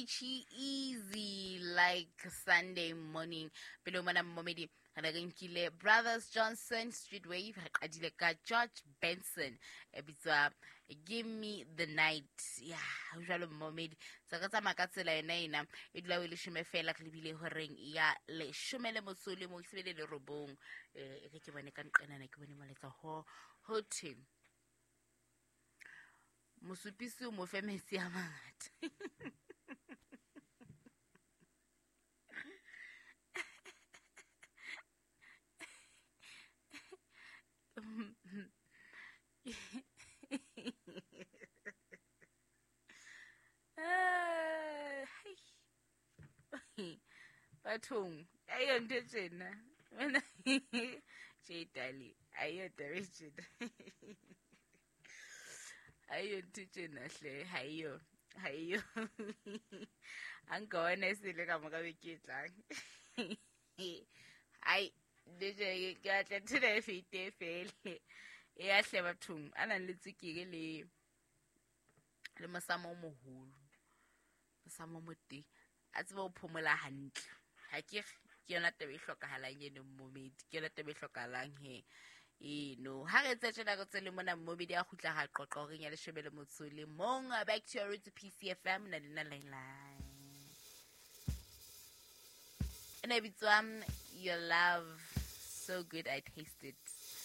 Easy like Sunday morning. Pele o mona mmomedi re ne re nkile Brothers Johnson, Street Wave, re qadile ka George Benson e bitswa Give Me the Night. Ya jwalo mmomedi se re tsamaya ka tsela yona ena e dula o e leshome fela re lebile horeng ya leshome le motso le mo sebele le robong. E re ke bone ka nqenana, ke bone molaetsa ho ho thwe mosupisi o mo fe metsi a mangata. Bathong ayo ntho e tjena wena tje tale, ayo taba e tjena, ayo ntho tjena hle, haeyo haeyo a nka wena e sele ka moka beke e tlang. Ai ntho ke batla nthena e fete e fele e ya hle. Bathong a nang le tswekere le mosamo o moholo, mosamo o moteng, a tsebe ho phomola hantle. Ha ke ke yona taba e hlokahalang eno mmomedi, ke yona taba e hlokahalang he eno. Ha re etse tjena re tse le mona mmomedi a kgutla ha qoqa horeng ya leshome le motso le mong. Back to your roots, PCFM na lena lailai ena e bitswang Your Love So Good I Taste It.